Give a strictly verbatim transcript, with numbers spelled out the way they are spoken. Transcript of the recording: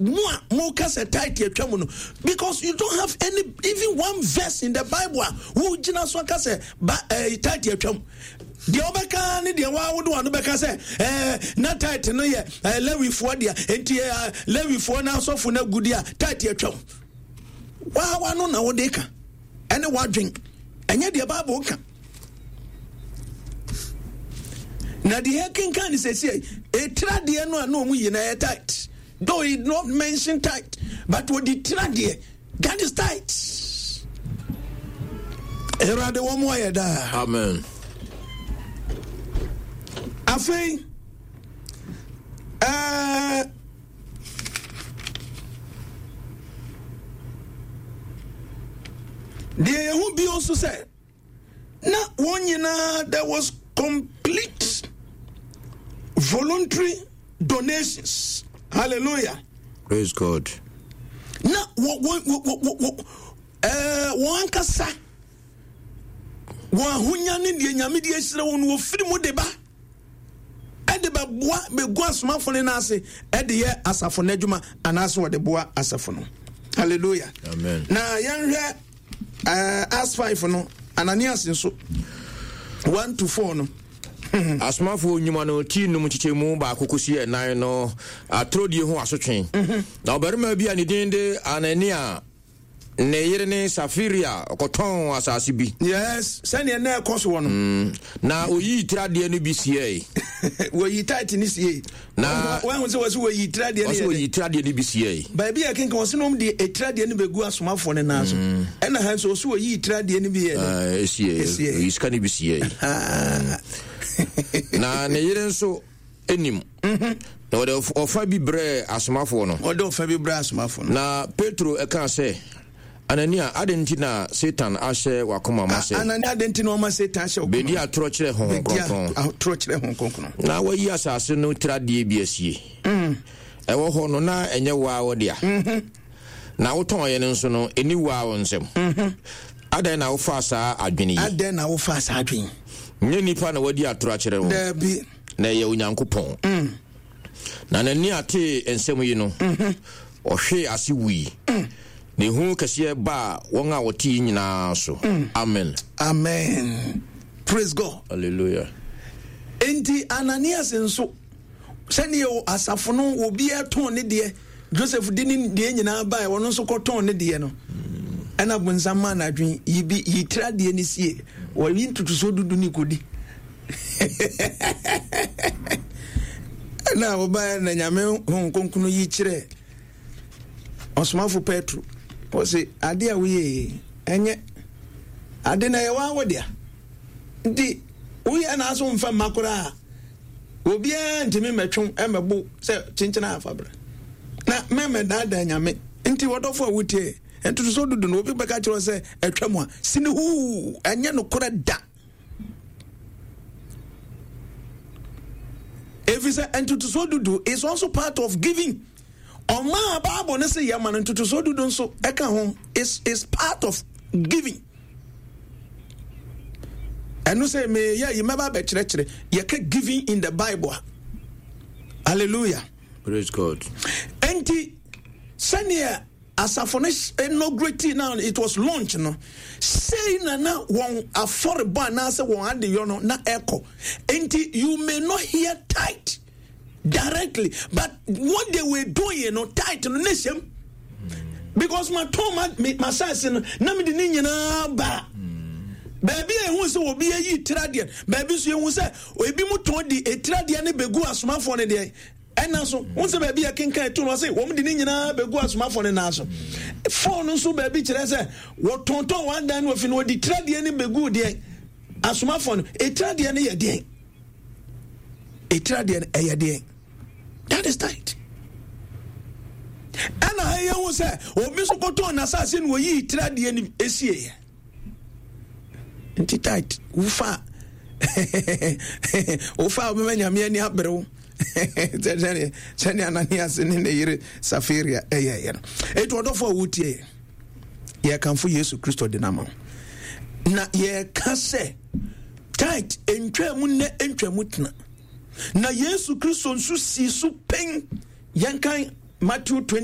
Mo a moka sɛ tithe atwa mu no, because you don't have any even one verse in the Bible a wogyina so aka sɛ ba ɛɛ eh, tithe atwa mu. Deɛ wɔbɛka ne deɛ waa wode wano bɛka sɛ ɛɛ eh, na tithe no yɛ ɛɛ eh, Lewifoɔ deɛ, nti ɛɛ Lewifoɔ na asɔfo no agudi a tithe atwa mu. Waa wano na wode ka ɛne wadwen, ɛnyɛ deɛ Bible ka. Na deɛ yɛkenkan ne sɛsi ɛtira deɛ no a na ɔmu yi na ɛyɛ tight, though he did not mention tight, but wɔde tira deɛ, that is tight. Awurade wɔn mu ayɛ daa. Amen. Afei ɛɛ deɛ yɛn ho bio nso sɛ na wɔn nyinaa, there was complete voluntary donations. Hallelujah. Praise God. Na wɔ wɔ wɔ wɔ wɔ ɛɛ wɔn ankasa wɔn ahonya ne deɛ Nyame de ahyira wɔn no, wɔfiri mu de ba ɛde bɛboa bɛgu asomafo no n'ase ɛde yɛ asafo no adwuma anaasɛ wɔde boa asafo no. Hallelujah. Amen. Na yɛnhwɛ uh, Acts five no, Ananias nso one to four no. Asomafoɔ nnwuma no ti num nkyekyɛmu baako kɔsi ɛnan no, atorodie ho asotwe. Na ɔbarima bi a ne din de Anania, ne yere ne Safiria, ɔkɔtɔn asase bi. Yes, sɛdeɛ na ɛkɔ soɔ no. Mm. Na oyii tiradeɛ no bi siei. Wɔyi tight ne siei. Na wɔahu sɛ wɔsi wɔyi tiradeɛ no wɔsi yɛ wɔyi tiradeɛ no bi siei. Baabi a kenkan wɔsi nom de etiradeɛ no bɛgu asomafoɔ no nan so. Ɛna ha nso wɔsi wɔyi tiradeɛ no bi yɛ dɛ. Ah, esie. Esie. Oyi sika no bi siei. Na ne yere nso anim. Na wɔde ɔf- ɔfa bi brɛɛ asomafoɔ no. Ɔde ɔfa bi brɛ asomafoɔ no. Na Petro ɛkaa sɛ, Anania, adɛn nti na Satan ahyɛ w'akoma ma sɛ Anania, adɛn nti na ɔma Satan ahyɛ wo bɛdi atorɔ kyerɛ Honhom bɛdi Kronkron atorɔ kyerɛ Honhom Kronkron na wayi asase no tiradeɛ bi asie? Ɛwɔ hɔ no, na ɛnyɛ wo ara wo dea, na wotɔnyɛ no nso no, ɛni wo ara wo nsam. Adɛn na wofaa saa adwene yi? Adɛn na wofaa saa adwene? Nyɛ nnipa na wadi atorɔ akyerɛ wo, Daabi. na ɛyɛ Onyankopɔn. Na n'ani atee nsɛm yi no, ɔhwee ase wui. Na ehu kɛseɛ baa wɔn a wɔte yi nyinaa so. Amen. Amen. Praise God. Hallelujah. Enti Ananias nso, sɛdeɛ asafo no obiara tɔn ne deɛ, Joseph de ne deɛ nyinaa baeɛ, ɔno nso kɔtɔn ne deɛ no, ɛna bonsam maa n'adwene yi bi yi tira deɛ ne sie, wɔyi ntotosoɔ dudu ne kɔdi. Ɛna wɔbaeɛ na Nyame Honhom Kronkron yi kyerɛ ɔsomafo Petro, wɔse adeɛ a woyɛ yi ɛnyɛ ade na ɛyɛ waa wo dea, nti woyɛ na aso mfa mma koraa, obiara ntumi mmɛtwe mmɛbo sɛ kyenkyena afa bra na mɛmɛdaadaa Nyame. Nti wɔdɔfo a wotie ntotosoɔ dudu no, obi bɛka kyerɛ sɛ atwa mu a, sini huu, ɛnyɛ nokorɛ da. Ɛfiri sɛ ntotosoɔ dudu is also part of giving. Ɔmaa Bible no sɛ yɛma no ntotosoɔ dudu nso ɛka ho, is is part of giving. Ɛno sɛ meyɛ yi mɛba bɛkyerɛkyerɛ yɛka giving in the Bible a. Hallelujah. Praise God. Enti sɛneɛ asafo no inaugurate na it was launched no, sei na na wɔn afɔrebɔ anaasɛ wɔn adeyɔ no na ɛkɔ. Enti you may not hear tithe directly, but what they were doing no, tithe no ne hyɛm, because ma tɔn ma ma saase no na mi de ne nyinaa ba baabi a ehu sɛ obi ayi tiradeɛ, baabi nso ehu sɛ ebi mu tɔn de etiradeɛ no begu asomafoɔ no deɛ. Ɛna so wɔn sɛ baabi a kenkan etu no, ɔsɛ wɔn de ne nyinaa begu asomafoɔ no nan so. Fɔɔ no nso baabi kyerɛ sɛ wɔtontɔn wɔn adan no ofi no, wɔde tiradeɛ no begu deɛ asomafoɔ no. Etiradeɛ no yɛ deɛ, etiradeɛ no ɛyɛ deɛ, that is tight. Ɛna ha yɛn ho sɛ obi nso kɔtɔn n'asase na oyi tiradeɛ no esie yɛ. Nti tight wofa wofa wobɛma Nyame ani abere wo sɛdeɛ sɛdeɛ Ananias ne ne yere Safiria ɛyɛɛyɛ no. Enti ɔdɔfo a wotie yɛ, yɛkamfo Yesu Kristo de nama wo, na yɛka sɛ tight ntwa mu nnɛ, ntwa mu tena, na Yesu Kristo nso sii so pɛn. Yɛnkan Matthew twenty.